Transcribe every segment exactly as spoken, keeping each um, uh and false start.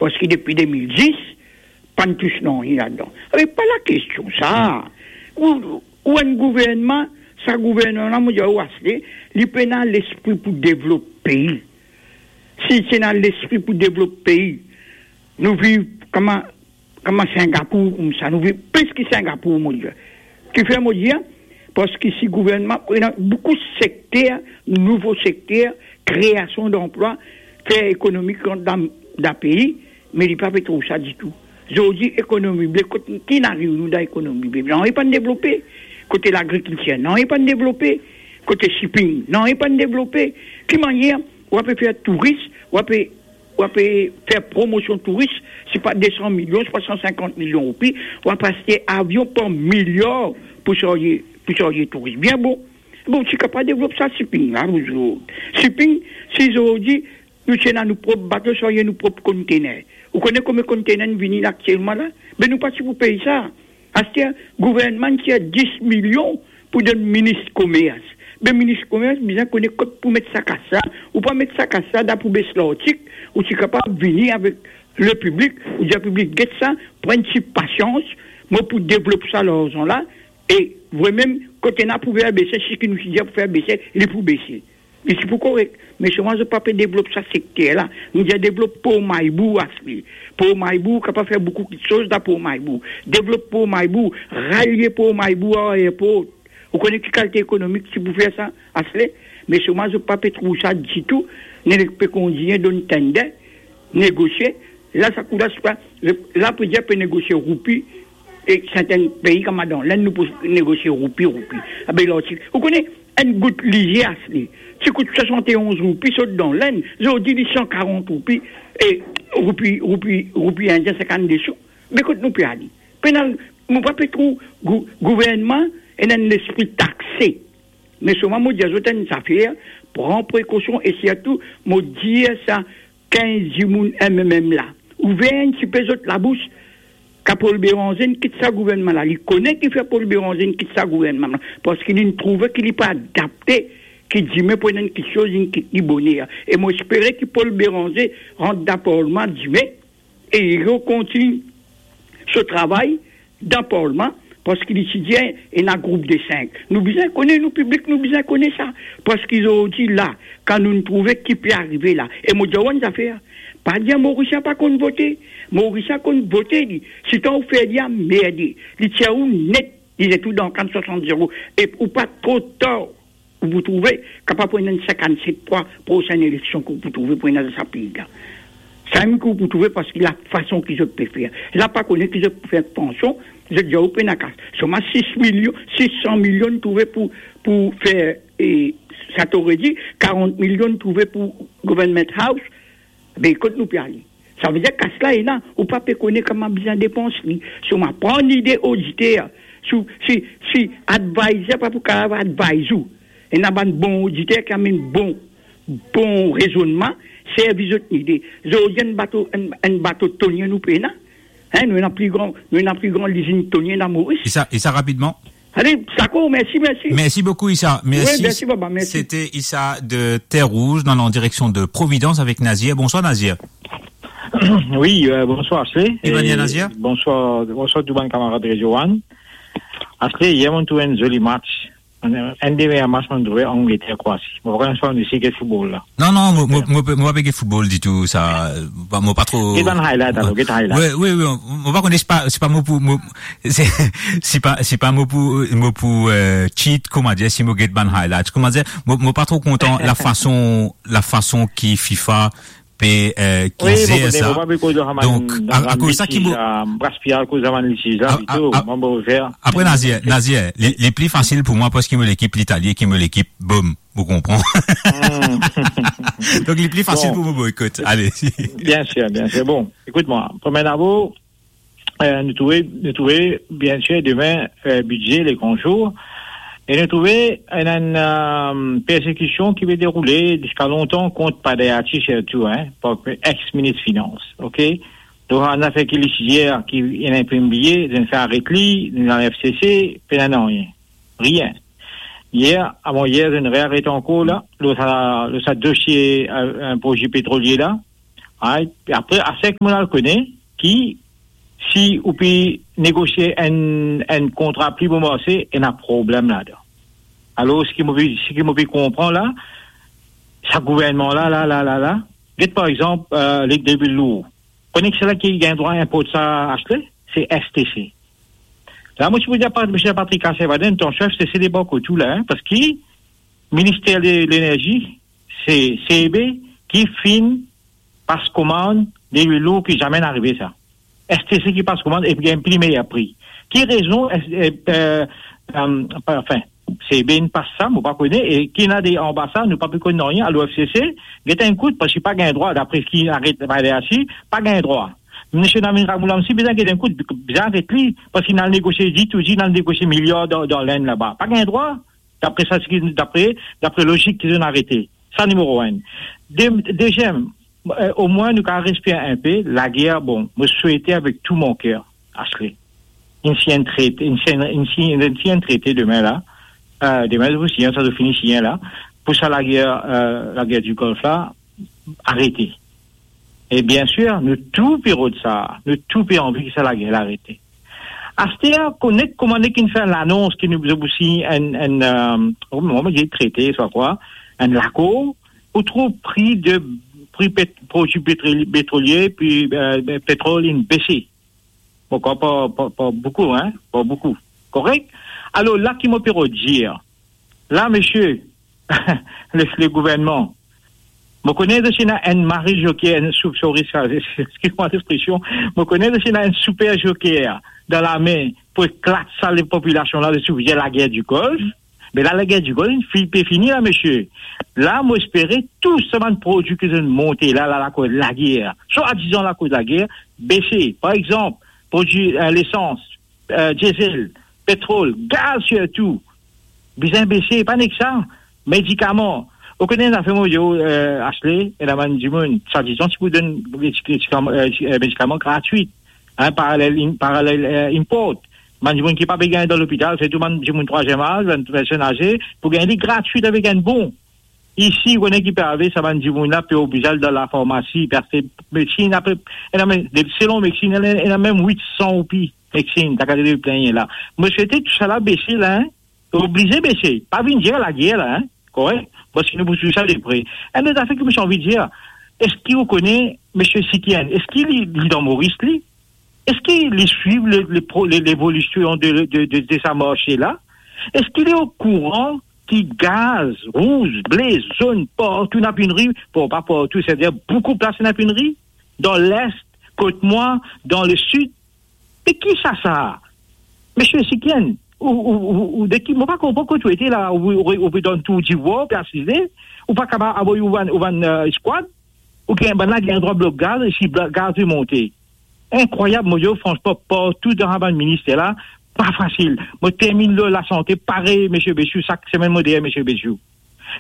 parski depi de mil dis, pa'nn tous nanye ladan. Ave pa lakestion sa. Ou, ou enn gouvernman, sa gouvernman la, mo dir ou, Asle, li pena lespri pou devlop pei. Si ti ena lespri pou devlop pei, nou viv kouma, kouma Singapour, koumsa, nou viv plis ki Singapour, mo dir. Kifer mo dir? Parski si gouvernman, ena boukou sekter, nouvo sekter, kreasion danplwa, fer ekonomi rant dan, dan pei, me li pa pe trouv sa ditou. Zordi ekonomi ble, kot ki nou ariv nou dan ekonomi ble? Nanye pa'nn devlope. Kote lagrikiltir, nanye pa'nn devlope. Kote shipping, nanye pa'nn devlope. Ki manier ou pe fer touris, ou pe, ou pe fer promosion touris, sipa de san milion, sipa san sinkant milion roupi, ou pe aste avion par miliar pou sarze, pou sarze touris? Bien bon. Bon, ti kapav devlop sa shipping la, nou zot. Shipping, si zordi nou ti ena nou prop bato, sarze nou prop kontener. Ou kone konbien kontener inn vini la aktielman la? Be nou pa ti pou pey sa. Aster, gouvernman tir dis milion pou donn minis komers. Be minis komers bizin kone kot pou met sa kas la. Ou pa met sa kas la dan poubes lartik, ou ti kapav vini avek lepiblik, ou dir piblik, get sa, pran enn ti pasians, mo pou devlop sa larzan la, e vremem, kot ena pou fer bese, seki nou ti dir pou fer bese, li pou bese. Li ti pou korek. Me selman zot pa pe devlop sa sekter la. Nou dir devlop Por Maybou, Asle. Por Maybou, kapav fer boukou kiksoz dan Por Maybou. Devlop Por Maybou, ralie Por Maybou ar aerport. Ou kone ki kalite ekonomi ki ti pou fer sa, Asle? Me selman zot pa pe trouv sa ditou. Nek pe kontign donn tender, negosie. La, sa kou la, sipa, la, pe dir pe negosie roupi, e sertin pei kouma dan Lenn, nou pou negosie roupi, roupi. Abe lartik. Ou kone, enn gout lizie, Asle, ti kout swasant-e-onz roupi sot dan Lenn, zordi li san karant roupi, e roupi, roupi, roupi indien, sinkant-de sou. Me kot nou pe ale? Pena, nou pa pe trouv gou-, gouvernman ena enn lespri takse. Me selman mo dir zot enn zafer, pran prekosion e sirtou, mo dir sa, kinz dimoun M M M la, ouver enn tipe zot labous, kan Paul Bérenger inn kit sa gouvernman la, li kone kifer Paul Bérenger inn kit sa gouvernman la, parski li'nn trouve ki li pa adapte, ki dime pou ena enn kiksoz, li'nn kit li boner. E mo espere ki Paul Bérenger rant dan parlman dime, e li rekontign so travay dan parlman, parski li ti dir ena group de sink. Nou bizin kone, nou piblik, nou bizin kone sa. Parski zordi la, kan nou trouve ki pe arive la, e mo dir ou enn zafer, pa dir Morisien pa konn vote. Morisien konn vote, li. Sitan ou fer li anmerde, li tir ou net, li zet ou dan kann swasant zero. E ou pa tro tar, ou pou trouve, kapav pou ena enn sinkant-set fwa prosenn eleksion ki ou pou trouve pou ena dan sa pei la. Samem ki ou pou trouve, parski lafason ki zot pe fer la, pa kone ki zot pou fer, atansion, zot dir ou pena kas. Selman sis milion, sis san milion trouve pou, pou fer, e, sa to redi, karant milion trouve pou Government House. Be kot nou pe ale? Savedir kas la ena, ou pa pe kone kouma bizin depans li. Selman pran lide oditer, si, si, si advisor pa pou kapav advise ou, ena bann bon oditer ki amenn bon, bon rezonnman, servi zot lide. Zordi enn bato, enn, enn bato tonie nou pena, hein, nou ena pli gran, nou ena pli gran lizinn tonie dan Moris. E sa, e sa rapidman? Ale, dakor, mersi, mersi. Mersi boukou, Issa. Mersi. Wi, mersi, baba, mersi. Sete Issa de Terre Rouge, nou an direksion de Providence avek Nazir. Bonswar, Nazir. Wi, euh, bonswar, Asle. Ki manier, Nazir? Bonswar, bonswar tou bann kamarad Radio One. Asle, yer mo trouv enn zoli match. Enn, enn de meyer match mo trouve, Angleterre, Kroasi. Mo pa konn si ou isi get football la. Non, non, mo, mo, mo, mo pa pe get football ditou, sa, euh, pa, mo pa tro. Get bann highlight, alor, get highlight. Wi, wi, wi, mo pa kone, se pa, se pa mo pou, mo, se, se pa, se pa mo pou, mo pou, euh, cheat, kouma dir, si mo get bann highlight. Kouma dir, mo, mo pa tro kontan lafason, lafason ki FIFA pe, euh, ki zer sa. Wi, mo pa pe koz sa. Donk, a, akoz sa ki mo, euh, Braspia, akoz sa bann lisiz la, a, a, pito, a, mo pa fer. Apre, Nazir, Nazir, li, li pli fasil pou mwa parski mo lekip Litali, ki mo lekip, boum. Ou konpran? Hmm. Donk, li pli fasil pou mo boykot. Ale. Bien sir, bien sir. Bon, ekout mwa. Premie dabor, euh, nou trouve, nou trouve, bien sir, demin, euh, bidze, le gran zour. E nou trouve enn, enn, euh, persekision ki pe deroule ziska lontan kont Pader Atshi sirtou, hein, par ex-minis finans, ok? Donk, enn zafer ki li ti dir, ki ena enn pe bliye, nou fer aret li, nou al F C C, pena nanye. Rien. Yer, avan yer, zot inn rearet ankor la, lor sa, lor sa dosie, euh, enn proze petrolie la. Right? Apre, asek moun al kone ki si ou pe negosie enn, enn kontra pli bon marse, ena problem ladan. Alor, seki mo pe, seki mo pe konpran la, sa gouvernman la, la, la, la, la, get par exanp, eh, le, de lwil lour. Kone ki sela ki gagn drwa inport sa, Ashley? Se S T C. La, mo ti pou dir, Pat-, misie Patrick Cassel, enn tan sef, se, se de bon kote la, hein, parski Minister de Lenerzi, se C E B ki finn pas komann de lwil lour ki zame inn arive sa. S T C ki pas komann epi gagn pli meyer pri. Ki rezon, eh, eh, eh, eh, anfin, C E B inn pas sa, mo pa kone, e ki ena de anba sa, nou pa pe konn nanye, alor F C C, get enn kout, parski pa gagn drwa, dapre ki aret, pa gagn drwa. Misie Navin Ramgoolam si bizin get enn kout, bizin aret li, parski inn al negosie, ditou dir, inn al negosie miliar dan, dan Lenn laba. Pa gagn drwa, dapre sa, seki, dapre, dapre lozik ki zot inn arete. Sa nimero enn. De-, deziem, eh, omwin nou kapav respire inpe, lager, bon, mo swete avek tou mo ker, Ashley. Inn sign enn trete, inn sign, inn sign, inn sign enn trete demin la. Eh, demin, zot pou sign sa, zot fini sign la. Pou sa lager, eh, lager di Golf la, arete. E biensir, nou tou pe rod sa, nou tou pe anvi ki sa lager la arete. Aster, kouma, kouma nek inn fer lanons ki nou, nou pou sign enn, enn, eh, mo, mo dir trete, swa kwa, enn lakor, ou trouv pri de, pri pet-, prodwi petroli-, petrolie, pi, eh, petrol inn bese. Bon, pa, pa, pa, pa boukou, hein, pa boukou. Korek? Alor, la ki mo pe rod dir, la, misie, le, le gouvernman, mo kone zot ena enn mari zoker, enn sou-, sorry, sa, excuse-moi l'expression, mo kone zot ena enn super zoker dan lame pou eklat sa lepopilasion la, zot ti pou dir lager di Golf. Me la, lager di Golf, fi-, pe fini la, misie. La, mo espere tou sa bann prodwi ki zot monte la, la, lakoz lager, swadizan lakoz lager, bese. Par exanp, prodwi, eh, lesans, eh, diesel, petrol, gaz sirtou, bizin bese, pa nek sa, medikaman. Ou kone, ena fer mo dir, eh, Ashley, ena bann dimoun, swadizan ti pou donn medikaman, eh, medikaman gratwit, hein, parallel im-, parallel, eh, import. Bann dimoun ki pa pe gagn dan lopital, sirtou bann dimoun trwaziem az, bann personn aze, pou gagn li gratwit avek enn bon. Isi, ou kone ki pe arive, sa bann dimoun la pe oblize al dan lafarmasi, pe aste medsin, apre, ena mem, de, selon medsin, ena, ena mem wit san roupi medsin, ta kapav plenn la. Mo swete tou sa la bese la, hein. Oblize bese, pa vinn dir lager la, hein, korek? Parski nou pou swiv sa de pre. Enn lot zafer ki mo ti anvi dir, eski ou kone misie Sikienn? Eski li, li dan Moris, li? Eski li swiv le, le pro-, le, levolision de, de, de, de sa marse la? Eski li okouran ki gaz rouz, ble, zonn, partou ena peynri? Bon, pa partou, setadir boukou plas ena peynri. Dan Lest, kot mwa, dan Lesid, me ki sa, sa? Misie Sikienn, ou, ou, ou, ou, de ki, mo pa konpran kot ou ete la, ou, ou, ou pe dan Tour d'Ivoire, pe asize, ou pa kapav avoy ou bann, ou bann, eh, squad, ou gagn bann la, gagn drwa blok gaz, e si bla-, gaz pe monte. Inkrwayab, mo dir, fransman, partou dan sa bann minister la, pa fasil. Mo terminn lor lasante, parey misie Bessiou, sak semenn mo deryer misie Bessiou.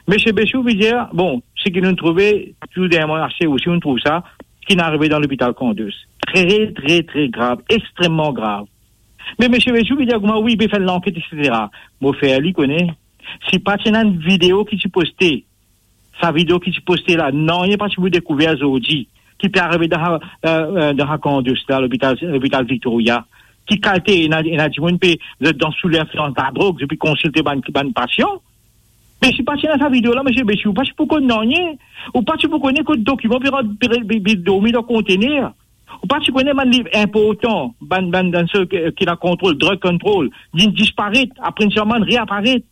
Misie Bessiou, vedir, bon, seki nou trouve, tou deryer mwa, aster osi nou trouv sa, ki inn arive dan lopital Candus. Tre, tre, tre grav, extrememan grav. Me misie Bessiou, vedir, kouma, wi, pe fer lanket, etsetera. Mo fer li kone, si pa ti ena enn video ki ti poste, sa video ki ti poste la, nanye pa ti pou dekouver zordi, ki pe arive dan, eh, eh, dan Candus la, lopital, lopital Victoria, ki kalite, ena, ena dimoun pe, zot dan sou linflians ladrog, zot pe konsilte bann, bann pasian. Me si pa ti ena sa video la, misie Bessiou, ou pa ti pou konn nanye, ou pa ti pou kone kot dokiman pe rant, pe, pe, pe dormi dan kontener. Ou pa ti kone bann liv inportan, bann, bann, bann seki, ki ena kontrol, drug control, li disparet, apre enn semenn, reaparet.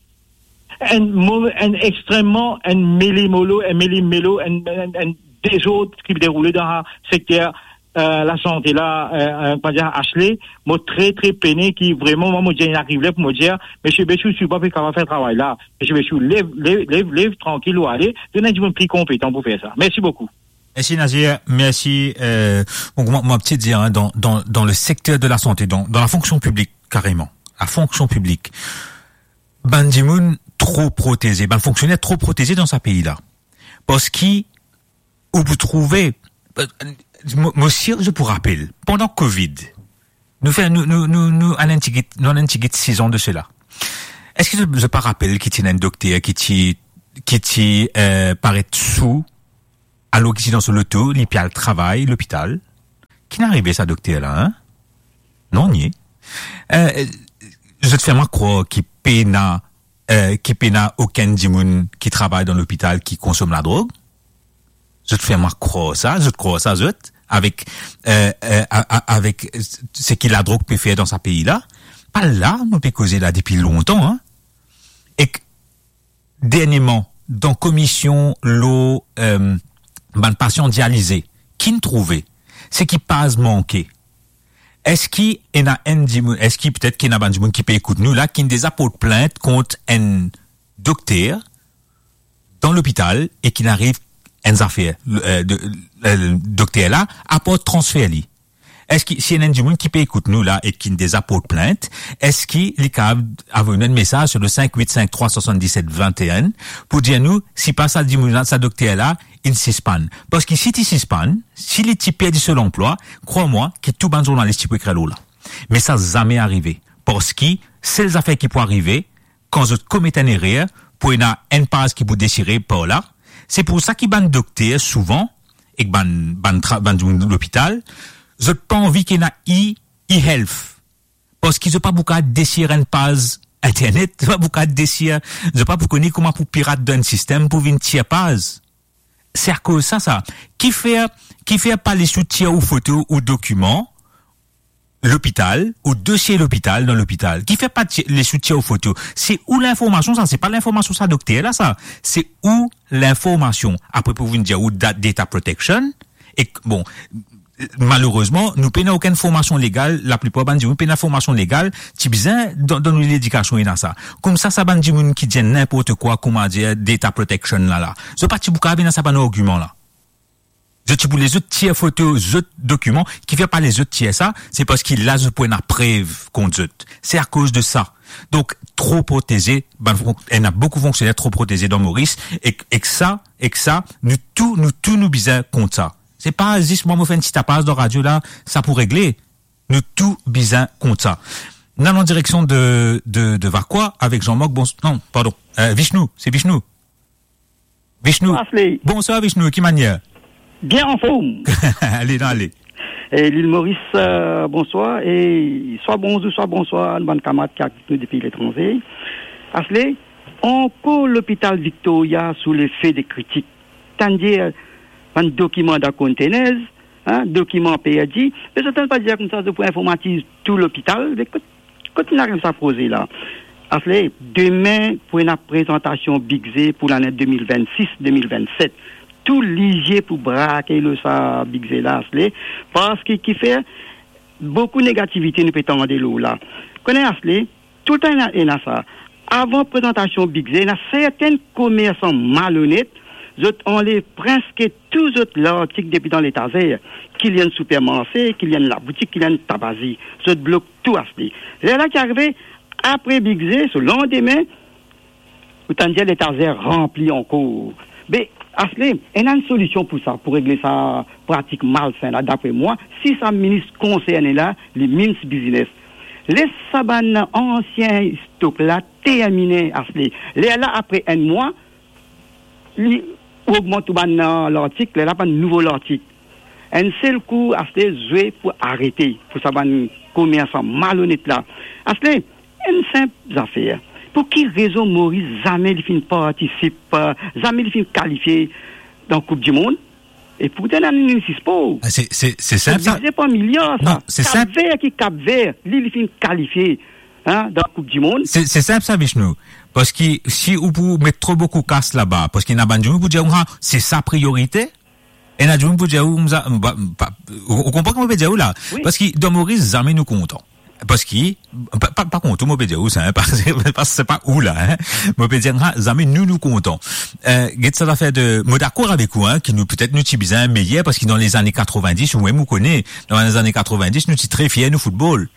Enn move, enn extrememan, enn melemolo, enn melemelo, enn, enn, enn dezord ki deroule dan sekter, eh, lasante la, eh, eh, kouma dir, Ashley, mo tre, tre pene ki vreman, mwa, mo dir, inn ariv ler pou mo dir, misie Bessiou, si ou pa pe kapav fer travay la, misie Bessiou, lev, lev, lev, lev, trankil ou ale, donn enn dimoun pli konpetan pou fer sa. Mersi boukou. Mersi Nazer, mersi. Euh, bon, mwa, mwa, ti dir, hein, dan, dan, dan le secteur de la santé, dan, dan la fonction publique, kareman, la fonction publique, bann dimoun tro proteze, bann fonksioner tro proteze dan sa pei la. Parski, ou pou trouve, euh, mo, mo sir, zot pou rapel, pandan Covid, nou fer, nou, nou, nou, nou, ena enn tigit, nou ena enn tigit sizan de sela. Eski zot, zot pa rapel ki ti ena enn dokter ki ti, ki ti, euh, paret sou Alor ki ti dan so loto, li pe al travay lopital. Ki'nn arive sa dokter la, hein? Non, nie. Eh, zot fer mwa krwar ki pena, eh, ki pena okenn dimoun ki travay dan lopital ki konsom ladrog? Zot fer mwa krwar sa, zot krwar sa, zot, avek, eh, eh, a-, a-, avek seki ladrog pe fer dan sa pei la? Pa la nou pe koze la depi lontan, hein? Ek dernieman, dan komision lor, eh, bann pasian dialize, ki'nn trouve? Seki paz manke. Eski ena enn dimoun, eski petet ki ena bann dimoun ki pe ekout nou la, ki'nn deza port plint kont enn dokter dan lopital e ki'nn ariv enn zafer, eh, de, eh, dokter la, apar transfer li? Eski, si ena enn dimoun ki pe ekout nou la e ki'nn deza port plint, eski li kapav avoy nou enn mesaz sur le cinq huit cinq trois soixante-dix-sept vingt et un pou dir nou si pa sa dimoun la, sa dokter la, inn sispann? Parski si ti sispann, si li ti perdi so lanplwa, krwar mwa ki tou bann zournalis ti pou ekrir lor la. Me sa zame arive. Parski sel zafer ki pou arive, kan zot komet enn erer, pou ena enn paz ki pou desire par la. Se pou sa ki bann dokter, souvan, ek bann, bann tra-, bann dimoun lopital, zot pa anvi ki ena e, e-health. Parski zot pa pou kav desir enn paz internet, zot pa pou kav desir, zot pa pou kone kouma pou pirat dan enn sistem pou vinn tir paz. Se akoz sa, sa. Kifer, kifer pa les ou tir ou foto ou dokiman lopital, ou dosie lopital dan lopital? Kifer pa ti-, les ou tir ou foto? Se ou linformasion sa, se pa linformasion sa dokter la sa. Se ou linformasion. Apre pou vinn dir ou da-, data protection, ek, bon, malerezman, nou pena okenn formasion legal, laplipar bann dimoun pena formasion legal, ti bizin dan, dan nou ledikasion ena sa. Koumsa sa bann dimoun ki dir ninport kwa, kouma dir data protection la la, zot pa ti pou kav ena sa bann argiman la. Zot ti pou les zot tir foto zot dokiman, kifer pa les zot tir sa, se parski la zot pou ena prev kont zot. Se akoz de sa. Donk, tro proteze, bann fon-, ena boukou fonksioner tro proteze dan Moris, ek, ek sa, ek sa, nou tou, nou tou nou bizin kont sa. Se pa zis mwa mo fer enn ti tapaz dan radio la, sa pou regle. Nou tou bizin kont sa. Nou al an direksion de, de, de Vacoas avek Jean-Marc, bon, non, pardon, eh, Vishnu, se Vishnu. Vishnu. Asle. Bonswar Vishnu, ki manier? Bien anform. Ale, non, ale. E Lil Moris, eh, bonswar, e swa bonzour, swa bonswar, bann kamarad ki ekout nou depi letranze. Asle, ankor Lopital Victoria sou lefe de kritik. Tann dir, bann dokiman dan containers, hein, dokiman perdi. Me zot tann pa dir koumsa, zot pou informatiz tou lopital. Me kot, kot inn ariv sa proze la? Asle, demin pou ena prezantasion bidze pou lane de mil vennsis, de mil vennset. Tou lizie pou brake lor sa bidze la, Asle. Parski kifer, boukou negativite nou pe tande lor la. Kone Asle, toultan ena, ena sa. Avan prezantasion bidze, ena sertin komersan malonet, zot anlev preske tou zot lartik depi dan letazer, ki li enn sipermarse, ki li enn laboutik, ki li enn tabazi. Zot blok tou Asle. Lerla ki arive, apre bidze, so landime, ou tann dir letazer ranpli ankor. Be, Asle, ena enn solision pou sa, pou regle sa pratik malsen la, dapre mwa, si sa minis konserne la, li means business. Les sa bann ansien stok la termine, Asle. Lerla apre enn mwa, li ogmant ou bann, eh, lartik, lerla bann nouvo lartik. Enn sel kou, Asle, zwe pou arete, pou sa bann komersan malonet la. Asle, enn sinp zafer. Pou ki rezon Moris zame li finn partisip, eh, zame li finn kalifie dan Koup di Mond? E pourtan, ena nou sispor. Ah, se, se, se sinp sa. Divize par miliar sa. Non, se sinp. Kap Ver ki Kap Ver, li, li finn kalifie, hein, dan Koup di Mond. Se, se sinp sa, Vishnu. Parski si ou pou met tro boukou kas laba, parski ena bann dimoun pou dir, ah, se sa priorite. Ena dimoun pou dir ou, sa, pa, pa, ou, ou konpran kouma mo pe dir ou la? Wi. Parski dan Moris, zame nou kontan. Parski, pa, pa, pa kont ou, mo pe dir ou sa, hein, pa, pa, se pa ou la, hein. Mo pe dir, ah, zame nou, nou kontan. Eh, get sa zafer de, mo dakor avek ou, hein, ki nou, petet nou ti bizin meyer, parski dan lezane katrovindis, ou mem ou kone, dan lezane katrovindis, nou ti tre fier nou foutbol.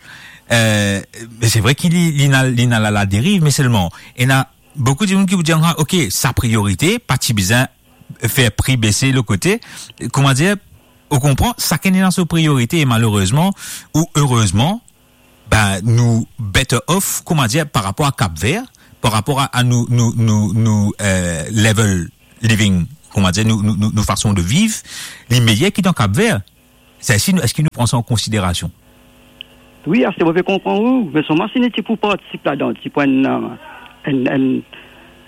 Eh, me se vre ki li, li ena, li ena la, la deriv, me selman, ena boukou dimoun ki pou dir, ah, ok, sa priorite, pa ti bizin fer pri bese lot kote. Kouma dir, ou konpran, sakenn ena so priorite e malerezman ou erezman, ben, nou better off, kouma dir, par rapor a Kap Ver, par rapor a, a nou, nou, nou, nou, eh, level living kouma dir, nou, nou, nou, nou fason de viv, li meyer ki dan Kap Ver. Sa, eski nou, eski nou pran sa an konsiderasion? Wi, aster mo pe konpran ou, me selman si nou ti pou partisip ladan, ti pou enn, enn, enn,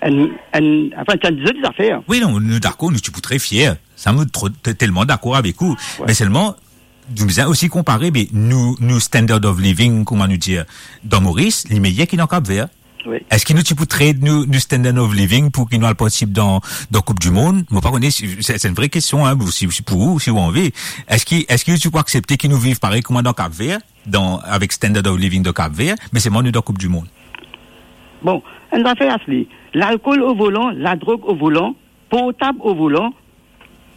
enn, enn, anfin, ti enn dizot zafer. Wi, non, nou dakor, nou ti pou tre fier. Sa, nou tro-, te-, telman dakor avek ou. Wi. Me selman, nou bizin osi konpare, be, nou, nou standard of living, kouma nou dir, dan Moris, li meyer ki dan Kap Ver. Wi. Eski nou ti pou trade nou, nou standard of living pou ki nou al partisip dan, dan Koup di Mond? Mo pa kone, si, se, se enn vre kestion, hein, si, si pou ou, si ou anvi. Eski, eski nou ti pou aksepte ki nou viv parey kouma dan Kap Ver, dan, avek standard of living dan Kap Ver, me selman nou dan Koup di Mond? Bon, enn zafer, Asli, lalkol o volan, ladrog o volan, portab o volan,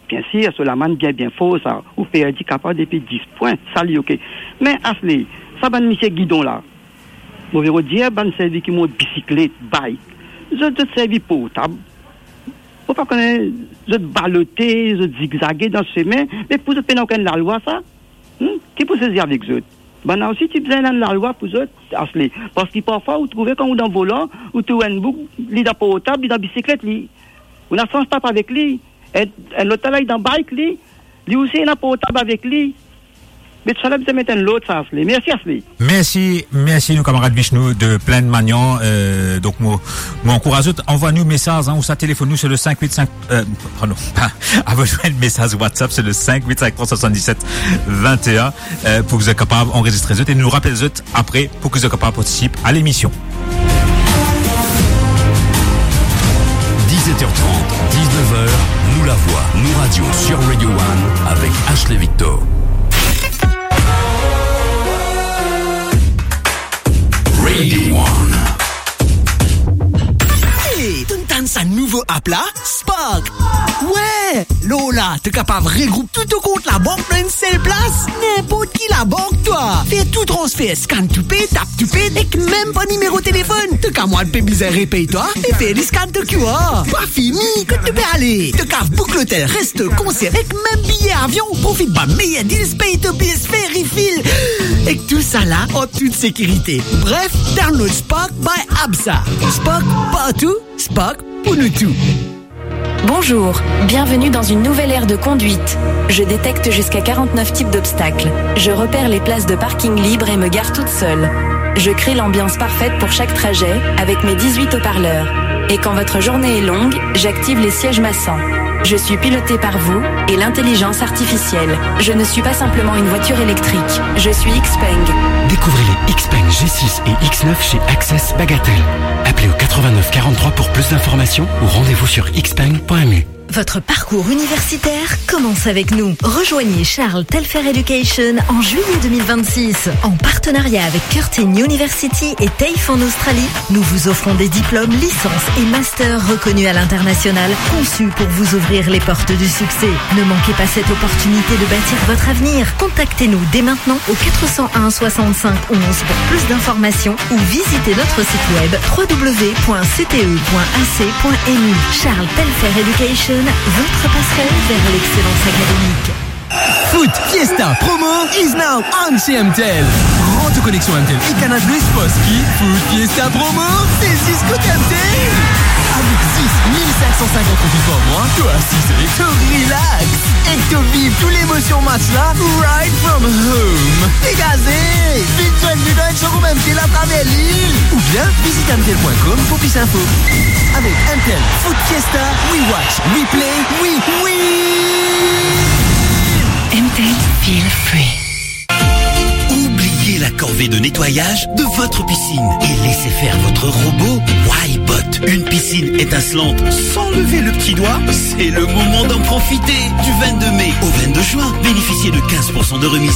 Biensir, so lamann bien, bien for sa, ou perdi kapav depi dis pwin, sa li oke. Me Asli, sa bann misie gidon la, mo pe dir bann servi ki mont bisiklet, bike, zot, zot servi portab. Mo pa kone, zot balote, zot zigzage dan sime, me pou zot pena okenn lalwa sa? Hmm? Ki pou sezi avek zot? Bann la osi ti bizin enn lalwa pou zot, Asli. Parski parfwa ou trouve kan ou dan volan, ou trouv enn boug, li dan portab, li dan bisiklet, li, ou ena sans tap avek li. Enn, enn lot la, li dan bike, li, li osi ena portab avek li. Me tousala bizin met enn lord sa, Asli. Mersi, Asli. Mersi, mersi nou kamarad Vishnu de Plaine Magnan. Euh, donk mo, mo ankouraz zot, anvway nou mesaz, hein, ou sa telefonn nou, se le cinq huit cinq, euh, pardon, pa, anvway nou enn mesaz WhatsApp, se le cinq huit cinq trois soixante-dix-sept vingt et un, euh, pou ki zot kapav anrezistre zot e nou rapel zot apre pou ki zot kapav partisip a lemision. Dix-sept heures trente, dix-neuf heures, Nou Lavwa, Nou Radio sur Radio One avec Ashley Victor. Radio One. Hey, to'nn tann sa nouvo app la? Spark! Wi! Lor la, to kapav regroup tou to kont labank dan enn sel plas. Ninport ki labank, twa. Fer tou transfer, scan to pay, tap to pay, ek mem par nimero telefonn. To kamarad pe bizin repey twa e fer li scan to Q R. Pa fini, kot to pe ale? To kapav book lotel, resto, konser, ek mem biye avion. Profit bann meyer deals, pey to bills, fer refill. Ek tousala an tout sekirite. Bref, download Spark by Absa. Spark partou, Spark pou nou tou. Bonjour, bienvenue dans une nouvelle ère de conduite. Je détecte jusqu'à quarante-neuf types d'obstacles. Je repère les places de parking libres et me gare toute seule. Je crée l'ambiance parfaite pour chaque trajet avec mes dix-huit haut-parleurs. Et quand votre journée est longue, j'active les sièges massants. Je suis pilotée par vous et l'intelligence artificielle. Je ne suis pas simplement une voiture électrique, je suis Xpeng. Découvrez les Xpeng G six et X neuf chez Access Bagatelle. Appelez au quatre-vingt-neuf quarante-trois pour plus d'informations ou rendez-vous sur xpeng point M U. Votre parcours universitaire commence avec nous. Rejoignez Charles Telfer Education en juillet deux mille vingt-six. En partenariat avec Curtin University et TAFE en Australie, nous vous offrons des diplômes, licences et masters reconnus à l'international, conçus pour vous ouvrir les portes du succès. Ne manquez pas cette opportunité de bâtir votre avenir. Contactez-nous dès maintenant au quatre cent un soixante-cinq onze pour plus d'informations ou visitez notre site web trois w point c t e point a c point m u. Charles Telfer Education, votre passerelle vers l'excellence académique. Foot Fiesta Promo is now on chez M T L. Rends ton connexion M T L et Canal Plus parce que Foot Fiesta Promo, c'est jusqu'au M T L. Avec juste mille cinq cent cinquante roupies par mois, toi assis et toi relax. Ek to viv tou lemosion match la, right from home. Degaze! Vinn zwenn nou dan enn showroom M T L atraver lil. Oubien vizit M T L point com pou plis info. Avek M T L Foot Fiesta, we watch, we play, we win! M T L, feel free. Oubliez la corvée de nettoyage de votre piscine et laissez faire votre robot Wybot. Une piscine étincelante sans lever le petit doigt, c'est le moment d'en profiter. Du vingt-deux mai au vingt-deux juin, bénéficiez de quinze pour cent de remise